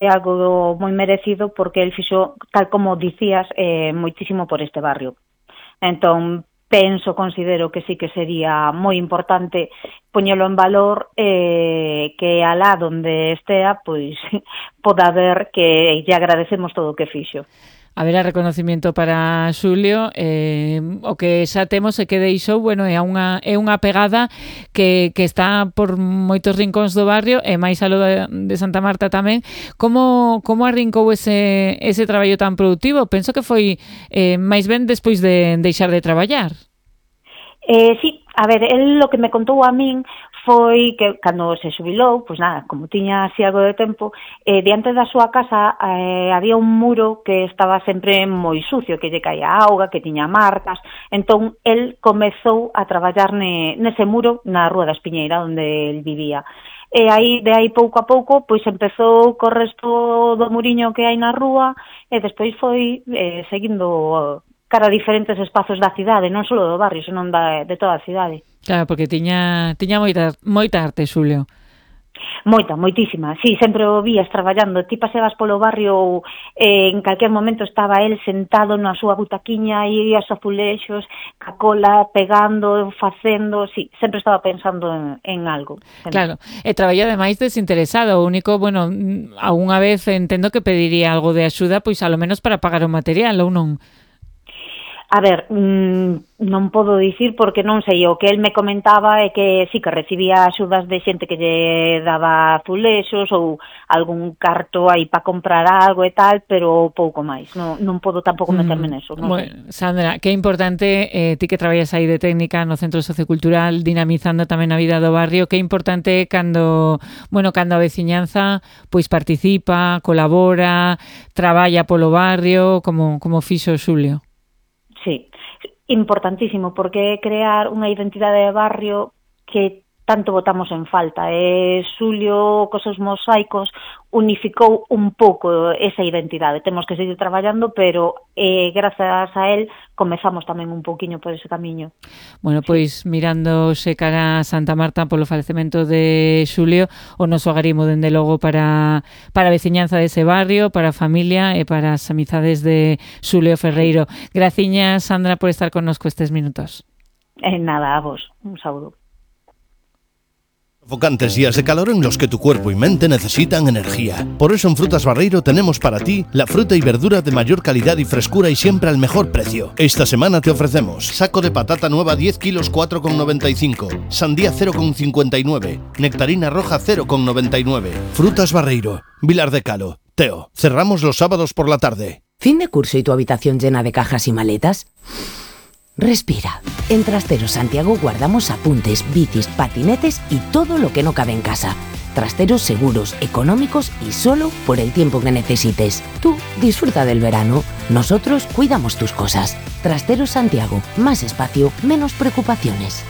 algo moi merecido porque el fixo, tal como dicías, moitísimo por este barrio. Entón, considero que sí que sería moi importante poñelo en valor, que alá donde estea, pois, poda ver que lle agradecemos todo o que fixo. Haberá reconocimiento para Xulio, o que xa temos e que deixou, bueno, é unha pegada que está por moitos rincóns do barrio e máis aló de Santa Marta tamén. Como arrincou ese traballo tan productivo? Penso que foi máis ben despois de deixar de traballar. Sí, a ver, el lo que me contou a min foi que cando se xubilou, pois nada, como tiña así algo de tempo, diante da súa casa había un muro que estaba sempre moi sucio, que lle caía auga, que tiña marcas, entón el comezou a traballar nese muro na Rúa da Espiñeira, onde el vivía. E de aí pouco a pouco, pois empezou co resto do muriño que hai na rúa e despois foi seguindo cara a diferentes espazos da cidade, non só do barrio, senón de toda a cidade. Claro, porque tiña moita arte, Xulio. Moitísima. Sí, sempre o vías traballando. Ti paseabas polo barrio ou en calquer momento estaba el sentado na súa butaquiña e os azulexos, ca cola, pegando, facendo, sí, sempre estaba pensando en algo. Sempre. Claro, e traballa ademais desinteresado. O único, bueno, algunha vez entendo que pediría algo de axuda, pois a lo menos para pagar o material, ou non? A ver, non podo dicir porque non sei, o que el me comentaba é que sí que recibía axudas de xente que lle daba azulexos ou algún carto aí para comprar algo e tal, pero pouco máis, non podo tampouco meterme neso. Bueno, Sandra, que importante, ti que traballas aí de técnica no Centro Sociocultural, dinamizando tamén a vida do barrio, que importante cando a veciñanza pois participa, colabora, traballa polo barrio, como fixo Xulio. Sí, importantísimo, porque é crear unha identidade de barrio que tanto botamos en falta. Xulio, cos seus mosaicos, unificou un pouco esa identidade. Temos que seguir traballando, pero grazas a él comezamos tamén un pouquiño por ese camiño. Bueno, pois mirándose cara a Santa Marta polo falecemento de Xulio, o noso agarimo dende logo para a veciñanza dese barrio, para a familia e para as amizades de Xulio Ferreiro. Graciñas, Sandra, por estar connosco estes minutos. Nada, a vos. Un saúdo. Sofocantes días de calor en los que tu cuerpo y mente necesitan energía. Por eso en Frutas Barreiro tenemos para ti la fruta y verdura de mayor calidad y frescura y siempre al mejor precio. Esta semana te ofrecemos saco de patata nueva 10 kilos 4,95, sandía 0,59, nectarina roja 0,99. Frutas Barreiro, Vilar de Calo, Teo. Cerramos los sábados por la tarde. ¿Fin de curso y tu habitación llena de cajas y maletas? Respira. En Trasteros Santiago guardamos apuntes, bicis, patinetes y todo lo que no cabe en casa. Trasteros seguros, económicos y solo por el tiempo que necesites. Tú disfruta del verano. Nosotros cuidamos tus cosas. Trasteros Santiago. Más espacio, menos preocupaciones.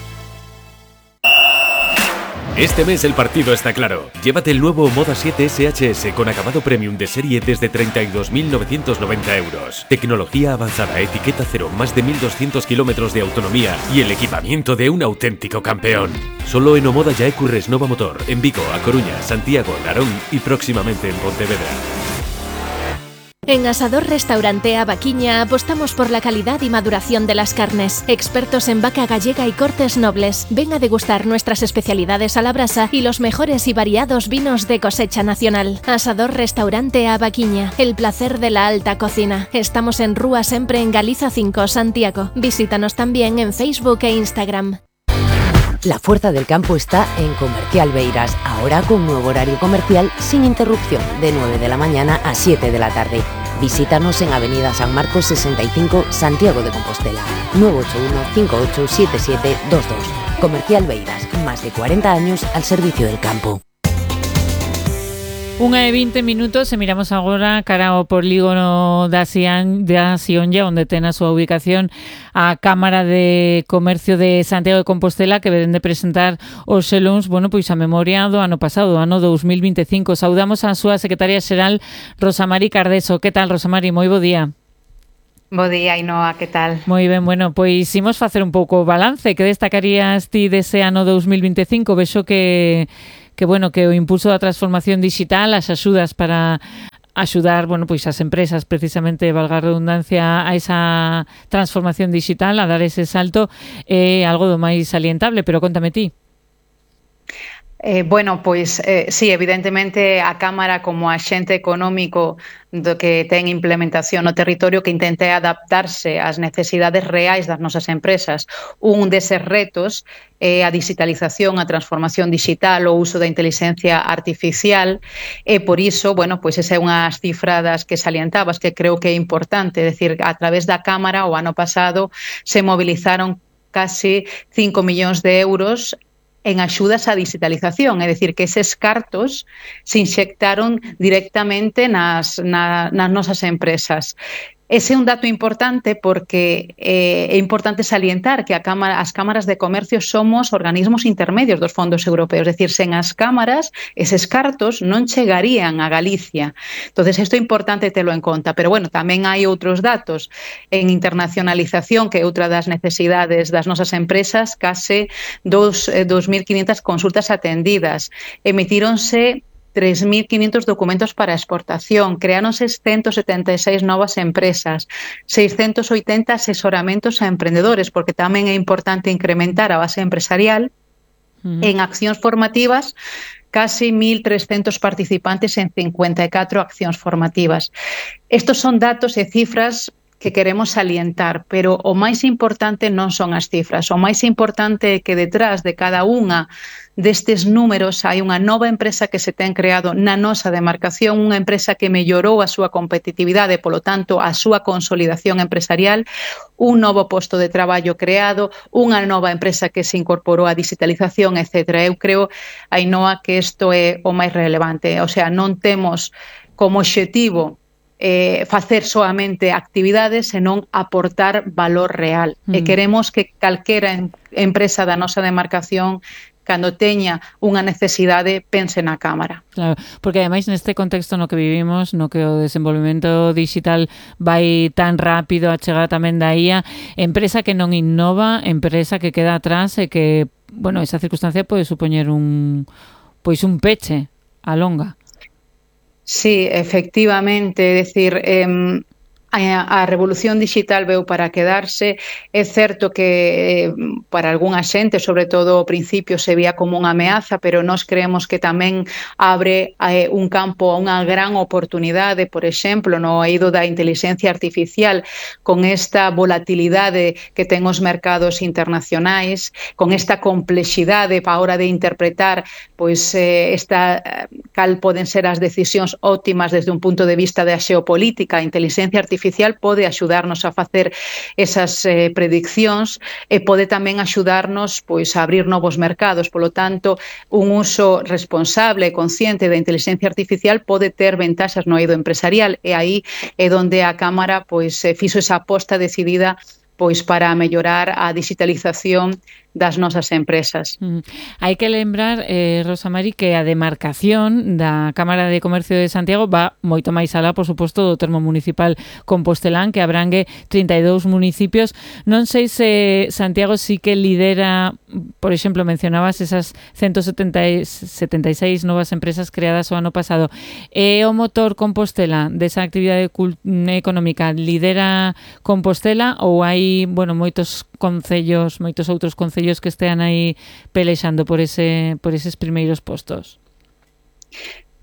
Este mes el partido está claro. Llévate el nuevo Moda 7 SHS con acabado premium de serie desde 32.990 euros. Tecnología avanzada, etiqueta cero, más de 1.200 kilómetros de autonomía y el equipamiento de un auténtico campeón. Solo en Omoda Yaecurres Nova Motor, en Vigo, A Coruña, Santiago, Narón y próximamente en Pontevedra. En Asador Restaurante Avaquiña apostamos por la calidad y maduración de las carnes. Expertos en vaca gallega y cortes nobles. Ven a degustar nuestras especialidades a la brasa y los mejores y variados vinos de cosecha nacional. Asador Restaurante Avaquiña. El placer de la alta cocina. Estamos en Rúa Sempre en Galiza 5, Santiago. Visítanos también en Facebook e Instagram. La fuerza del campo está en Comercial Beiras, ahora con nuevo horario comercial sin interrupción, de 9 de la mañana a 7 de la tarde. Visítanos en Avenida San Marcos 65, Santiago de Compostela, 981-587722. Comercial Beiras, más de 40 años al servicio del campo. 1:20 minutos e miramos agora cara ao polígono da Sionlla, onde ten a súa ubicación a Cámara de Comercio de Santiago de Compostela, que veren de presentar os selóns, pois a memoria do ano pasado, do ano 2025. Saudamos a súa secretaria xeral, Rosa Mari Cardeso. Que tal, Rosa Mari? Moi bo día. Bo día, Ainhoa, que tal? Moi ben, pois imos facer un pouco o balance. Que destacarías ti dese ano 2025? Vexo que bueno, que o impulso da transformación digital, as axudas para axudar, bueno, pois as empresas precisamente, valga a redundancia, a esa transformación digital, a dar ese salto, é algo do máis salientable, pero contame ti. Bueno, pois sí, evidentemente a Cámara como axente económico do que ten implementación no territorio que intente adaptarse ás necesidades reais das nosas empresas. Un deses retos é a digitalización, a transformación digital, o uso da inteligencia artificial e por iso, bueno, pois esa é unhas cifras que salientabas que creo que é importante, é dicir, a través da Cámara o ano pasado se movilizaron casi 5 millóns de euros en axudas á digitalización, é dicir, que eses cartos se inxectaron directamente nas nosas empresas. Ese é un dato importante porque é importante salientar que as cámaras de comercio somos organismos intermedios dos fondos europeos, é dicir, sen as cámaras, eses cartos non chegarían a Galicia. Entonces, isto é importante telo en conta, pero bueno, tamén hai outros datos en internacionalización, que é outra das necesidades das nosas empresas, case 2.500 consultas atendidas, emitíronse 3.500 documentos para exportación, creáronse 176 novas empresas, 680 asesoramentos a emprendedores, porque tamén é importante incrementar a base empresarial. En accións formativas, casi 1.300 participantes en 54 accións formativas. Estos son datos e cifras que queremos salientar, pero o máis importante non son as cifras, o máis importante é que detrás de cada unha destes números hai unha nova empresa que se ten creado na nosa demarcación, unha empresa que mellorou a súa competitividade, polo tanto, a súa consolidación empresarial, un novo posto de traballo creado, unha nova empresa que se incorporou á digitalización, etc. Eu creo, Ainhoa, que isto é o máis relevante, o sea, non temos como obxectivo facer soamente actividades, senón aportar valor real. E queremos que calquera empresa da nosa demarcación, cando teña unha necesidade, pense na Cámara. Claro, porque ademais neste contexto no que vivimos, no que o desenvolvemento digital vai tan rápido, a chegada tamén da IA, empresa que non innova, empresa que queda atrás e que, bueno, esa circunstancia pode supoñer un peche a longa. Sí, efectivamente, é dicir, a revolución digital veu para quedarse. É certo que para algunha xente, sobre todo ao principio, se vía como unha ameaza, pero nós creemos que tamén abre un campo a unha gran oportunidade, por exemplo, no eido da inteligencia artificial, con esta volatilidade que ten os mercados internacionais, con esta complexidade para a hora de interpretar pois cal poden ser as decisións óptimas desde un punto de vista da xeopolítica. A inteligencia artificial pode axudarnos a facer esas prediccións e pode tamén axudarnos pois a abrir novos mercados. Polo tanto, un uso responsable e consciente da inteligencia artificial pode ter ventaxas no eido empresarial e aí é onde a Cámara pois fixo esa aposta decidida pois para mellorar a digitalización das nosas empresas. Hai que lembrar, Rosa Mari, que a demarcación da Cámara de Comercio de Santiago va moito máis alá, por suposto, do termo municipal compostelán, que abrangue 32 municipios. Non sei se Santiago sí que lidera, por exemplo, mencionabas esas 176 novas empresas creadas o ano pasado. É o motor Compostela desa actividade económica, lidera Compostela ou hai, bueno, moitos outros concellos que estean aí pelexando por eses primeiros postos?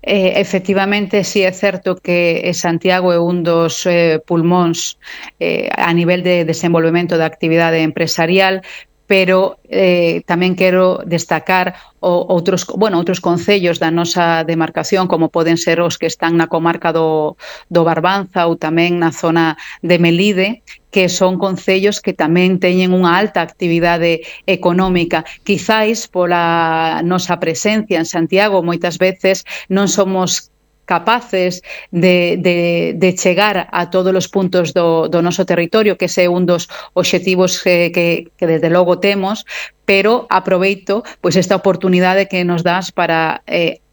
Efectivamente, sí é certo que Santiago é un dos pulmóns a nivel de desenvolvemento da actividade empresarial, pero tamén quero destacar outros concellos da nosa demarcación, como poden ser os que están na comarca do Barbanza ou tamén na zona de Melide, que son concellos que tamén teñen unha alta actividade económica. Quizáis pola nosa presencia en Santiago moitas veces non somos capaces de chegar a todos os puntos do noso territorio, que ese é un dos obxectivos que desde logo temos, pero aproveito pois esta oportunidade que nos das para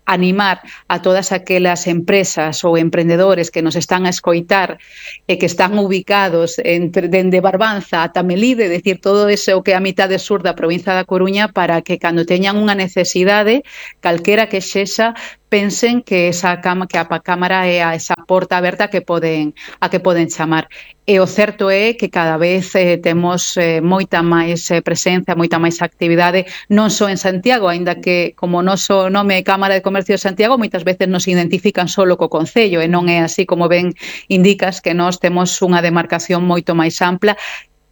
animar a todas aquelas empresas ou emprendedores que nos están a escoitar e que están ubicados dende Barbanza ata Melide, decir, todo ese o que é a mitade sur da provincia da Coruña, para que cando teñan unha necesidade, calquera que sexa, pensen que a Cámara é esa porta aberta a que poden chamar. E o certo é que cada vez temos moita máis presencia, moita máis actividade, non só en Santiago, aínda que como o noso nome é Cámara de Comercio de Santiago, moitas veces nos identifican solo co Concello, e non é así, como ben indicas, que nós temos unha demarcación moito máis ampla.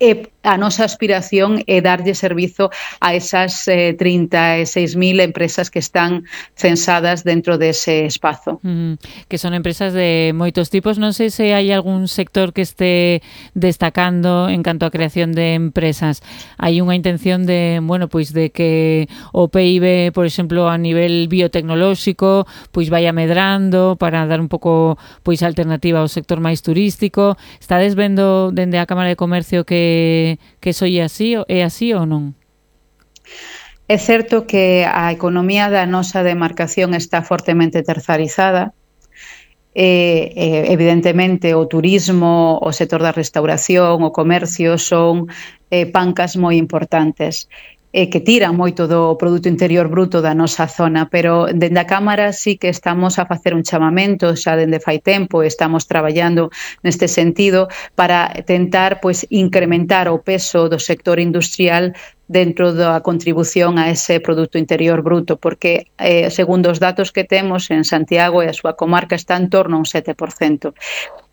E a nosa aspiración é darlle servizo a esas 36.000 empresas que están censadas dentro dese espazo. Que son empresas de moitos tipos. Non sei se hai algún sector que este destacando en canto a creación de empresas. Hai unha intención de, bueno, pois de que o PIB, por exemplo, a nivel biotecnolóxico, pois vaya medrando para dar un pouco pois alternativa ao sector máis turístico. Estades vendo dende a Cámara de Comercio que iso é así ou non? É certo que a economía da nosa demarcación está fortemente terzarizada. Evidentemente o turismo, o sector da restauración, o comercio son pancas moi importantes que tiran moito do Produto Interior Bruto da nosa zona, pero dende a Cámara sí que estamos a facer un chamamento xa dende fai tempo, estamos traballando neste sentido para tentar pois incrementar o peso do sector industrial dentro da contribución a ese Produto Interior Bruto, porque segundo os datos que temos en Santiago e a súa comarca está en torno a un 7%.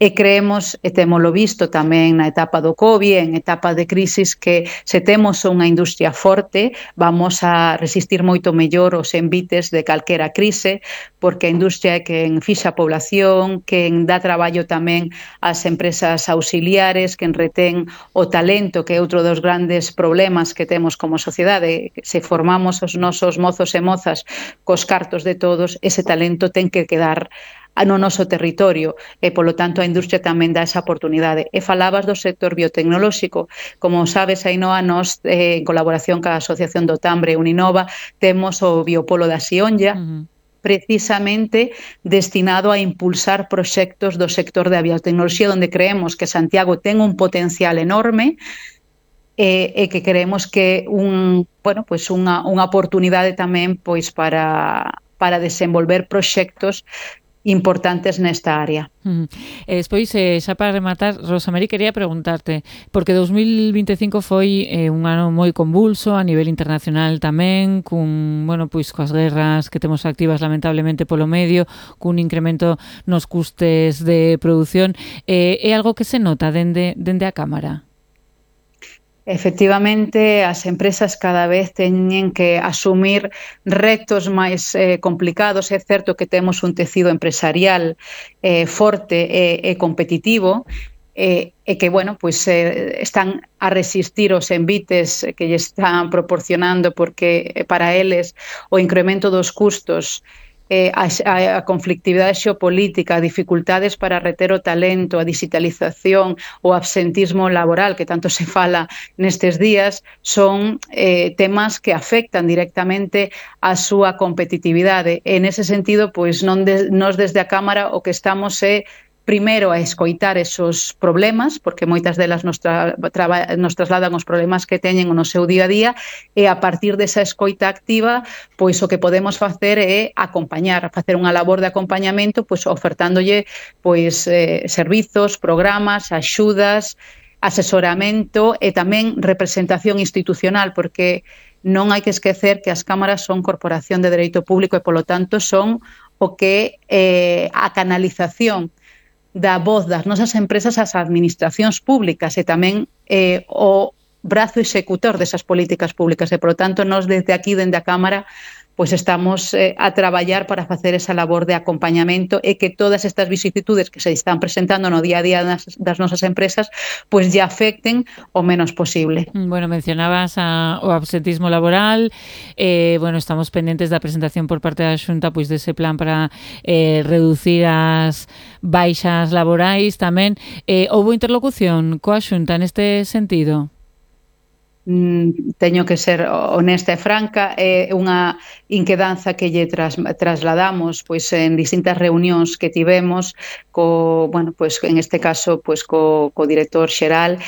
E creemos, e témolo visto tamén na etapa do COVID, en etapa de crisis, que se temos unha industria forte, vamos a resistir moito mellor os envites de calquera crise, porque a industria é quen fixa a población, quen dá traballo tamén ás empresas auxiliares, quen retén o talento, que é outro dos grandes problemas que temos como sociedade. Se formamos os nosos mozos e mozas cos cartos de todos, ese talento ten que quedar no noso territorio e, polo tanto, a industria tamén dá esa oportunidade. E falabas do sector biotecnolóxico. Como sabes, Ainhoa, nós, en colaboración ca Asociación do Tambre Uninova, temos o Biopolo da Sionlla, precisamente destinado a impulsar proxectos do sector da biotecnoloxía, onde creemos que Santiago ten un potencial enorme e que creemos que unha oportunidade tamén pois para desenvolver proxectos importantes nesta área. Despois, xa para rematar, Rosa Mari, quería preguntarte, porque 2025 foi un ano moi convulso a nivel internacional tamén, pois coas guerras que temos activas lamentablemente polo medio, cun incremento nos custes de produción. É algo que se nota dende a Cámara? Efectivamente, as empresas cada vez teñen que asumir retos máis complicados. É certo que temos un tecido empresarial forte e competitivo, e que, están a resistir os envites que lle están proporcionando, porque para eles o incremento dos custos, a conflictividade xeopolítica, dificultades para reter o talento, a digitalización, o absentismo laboral que tanto se fala nestes días, son temas que afectan directamente a súa competitividade. En ese sentido, pois nós desde a Cámara o que estamos é primeiro a escoitar esos problemas, porque moitas delas nos trasladan os problemas que teñen no seu día a día, e a partir desa escoita activa, pois o que podemos facer é acompañar, facer unha labor de acompañamento, pois ofertándolle pois servizos, programas, axudas, asesoramento e tamén representación institucional, porque non hai que esquecer que as cámaras son corporación de dereito público e, polo tanto, son o que a canalización da voz das nosas empresas ás administracións públicas e tamén o brazo executor desas políticas públicas e, por lo tanto, nós desde aquí, dende a Cámara, pois estamos a traballar para facer esa labor de acompañamento e que todas estas vicisitudes que se están presentando no día a día das nosas empresas pois lle afecten o menos posible. Bueno, mencionabas o absentismo laboral, estamos pendentes da presentación por parte da Xunta pois dese plan para reducir as baixas laborais tamén. Houbo interlocución coa Xunta neste sentido? teño que ser honesta e franca, é unha inquedanza que lle trasladamos pois en distintas reunións que tivemos bueno, pois en este caso pois co director xeral,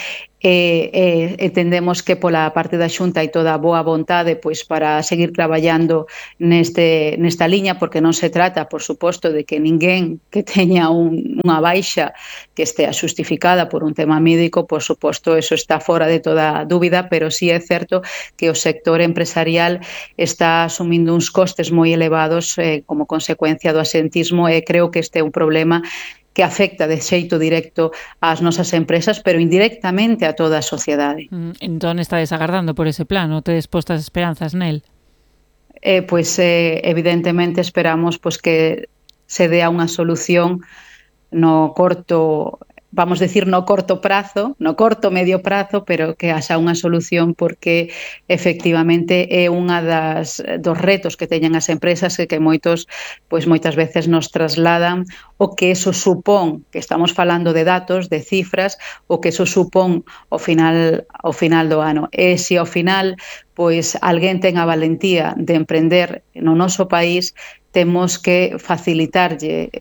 entendemos que pola parte da Xunta hai toda a boa vontade pois para seguir traballando nesta liña, porque non se trata, por suposto, de que ninguén que teña unha baixa que estea xustificada por un tema médico, por suposto, eso está fora de toda dúbida, pero sí é certo que o sector empresarial está asumindo uns costes moi elevados como consecuencia do asentismo, e creo que este é un problema que afecta de xeito directo ás nosas empresas, pero indirectamente a toda a sociedade. Entón estades agardando por ese plan, non tedes postas esperanzas nel? Pois evidentemente esperamos pois que se dea unha solución no corto, vamos decir no corto prazo, no corto medio prazo, pero que haxa unha solución, porque efectivamente é unha dos retos que teñen as empresas que moitas veces nos trasladan o que eso supón, que estamos falando de datos, de cifras, o que eso supón ao final do ano. E se ao final pois alguén ten a valentía de emprender no noso país, temos que facilitarlle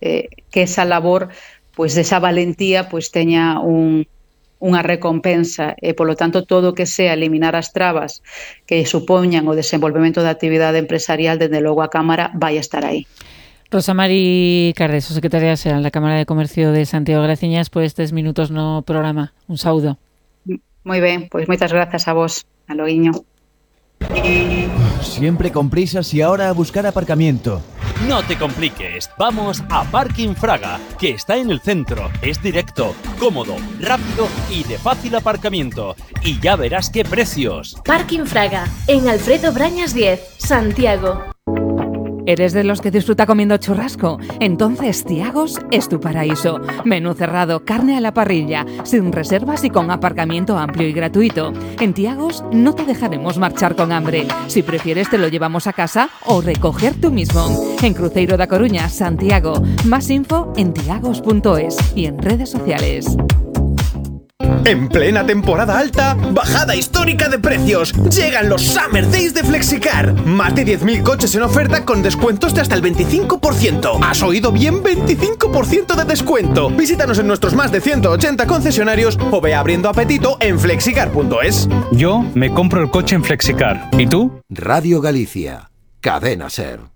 que esa labor, pois desa valentía, pois teña unha recompensa, e polo tanto todo o que sea eliminar as trabas que supoñan o desenvolvemento da actividade empresarial, dende logo a Cámara vai estar aí. Rosa Mari Cardeso, secretaria xeral da Cámara de Comercio de Santiago, graciñas por estes minutos no programa. Un saúdo. Moi ben, pois moitas grazas a vos. A loguiño. Siempre con prisas y ahora a buscar aparcamiento. No te compliques, vamos a Parking Fraga, que está en el centro, es directo, cómodo, rápido y de fácil aparcamiento. Y ya verás qué precios. Parking Fraga, en Alfredo Brañas 10, Santiago. ¿Eres de los que disfruta comiendo churrasco? Entonces Tiagos es tu paraíso. Menú cerrado, carne a la parrilla, sin reservas y con aparcamiento amplio y gratuito. En Tiagos no te dejaremos marchar con hambre. Si prefieres te lo llevamos a casa o recoger tú mismo. En Cruzeiro da Coruña, Santiago. Más info en tiagos.es y en redes sociales. En plena temporada alta, bajada histórica de precios. Llegan los Summer Days de Flexicar. Más de 10.000 coches en oferta con descuentos de hasta el 25%. ¿Has oído bien? 25% de descuento. Visítanos en nuestros más de 180 concesionarios o ve abriendo apetito en flexicar.es. Yo me compro el coche en Flexicar. ¿Y tú? Radio Galicia. Cadena SER.